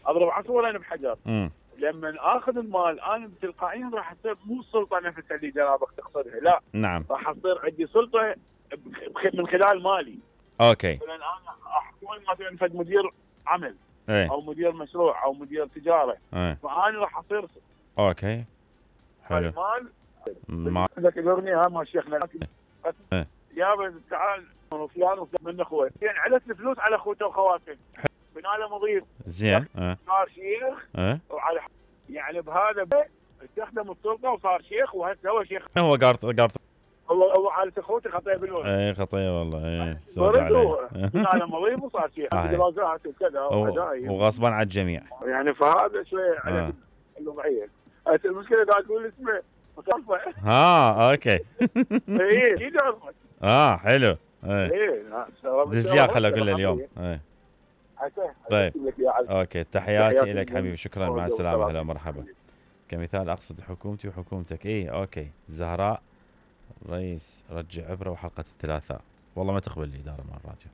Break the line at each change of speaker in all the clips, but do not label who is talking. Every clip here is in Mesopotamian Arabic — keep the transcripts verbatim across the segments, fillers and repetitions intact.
اضرب عصفورين بحجر.
امم
لما اخذ المال انا تلقائيا راح تصير مو السلطه نفسها اللي جنابك تقصدها، لا
نعم
راح تصير عندي سلطه من خلال مالي.
اوكي.
مثلا انا احكم مثلا فد مدير عمل
ايه
او مدير مشروع او مدير تجاره،
ايه
فانا راح اصير
اوكي حلو.
المال
ما
عندك الاغنيه ها ما شيخنا
ايه
يابا تعال فلان وفلان من اخوه، يعني علت الفلوس على اخوته وخواته بناله مضيف
زين. ايه
صار شيخ
ايه
وعلى يعني بهذا استخدم السلطه وصار شيخ وهسه هو شيخ.
هو قارط قارط
هو هو عائله اخوته خطيه بالولد.
ايه خطيه والله. ايه
صار عليه بناله مضيف وصار شيخ دراسات وكذا وهدايا
وغصبا على الجميع
يعني. فهذا شويه على الوضعيه. المشكله قاعد تقول اسمه مصفى.
ها اوكي.
ايه اكيد عرفت.
اه حلو.
ايه ايه
دز لي خل اقول له اليوم. ايه طيب اوكي تحياتي لك حبيبي، شكرا مع السلامه. هلا مرحبا. كمثال اقصد حكومتي وحكومتك. ايه اوكي. زهراء رئيس رجع عبره وحلقه الثلاثاء. والله ما تقبل الاداره مع الراديو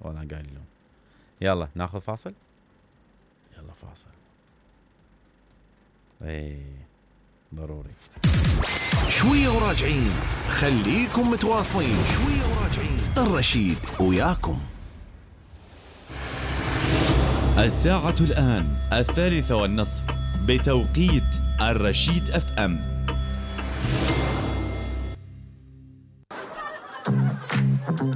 وانا قايل لهم. يلا ناخذ فاصل. يلا فاصل. ايه ضروري.
شويه وراجعين، خليكم متواصلين. شويه وراجعين، الرشيد وياكم.
الساعة الآن الثالثة والنصف بتوقيت الرشيد اف ام.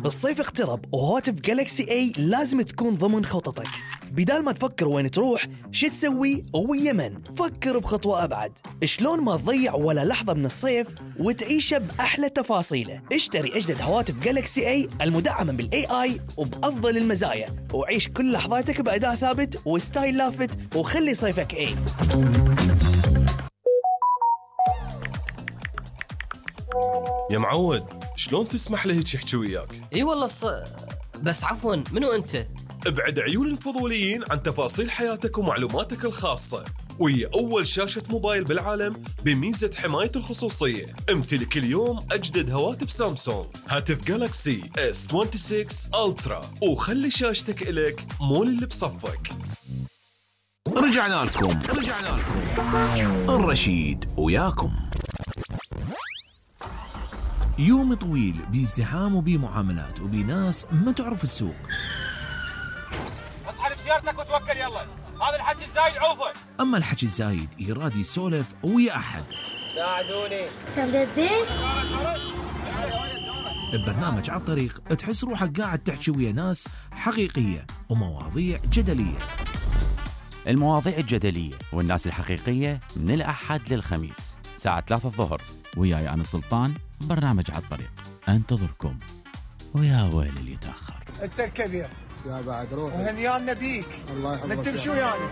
الصيف اقترب وهواتف جالكسي اي لازم تكون ضمن خططك. بدال ما تفكر وين تروح شو تسوي ويا من، فكر بخطوة أبعد. شلون ما تضيع ولا لحظة من الصيف وتعيشه بأحلى تفاصيله. اشتري أجدد هواتف جالكسي اي المدعمة بالاي اي وبأفضل المزايا، وعيش كل لحظاتك بأداء ثابت وستايل لافت، وخلي صيفك اي.
يا معود شلون تسمح له هيك يحكي وياك؟
اي والله الص... بس عفوا منو انت؟
ابعد عيون الفضوليين عن تفاصيل حياتك ومعلوماتك الخاصة، وهي أول شاشة موبايل بالعالم بميزة حماية الخصوصية. امتلك اليوم أجدد هواتف سامسونج، هاتف جالكسي اس ستة وعشرين ألترا، وخلي شاشتك إلك مول اللي بصفك.
رجعنا لكم رجعنا لكم الرشيد وياكم. يوم طويل بازدحام وبمعاملات وبناس ما تعرف السوق.
اسحب سيارتك وتوكل يلا، هذا الحكي الزايد عوفه.
اما الحكي الزايد يراد يسولف ويا احد.
ساعدوني.
تمدين؟
ببرنامج على الطريق تحس روحك قاعد تحكي ويا ناس حقيقية ومواضيع جدلية.
المواضيع الجدلية والناس الحقيقية من الأحد للخميس ساعة ثلاثة الظهر، وياي أنا سلطان. برنامج على الطريق انتظركم، ويا ويل اللي يتأخر.
انت الكبير
يا بعد روح
وهنيان نبيك.
الله يحفظك.
نتمشوا يعني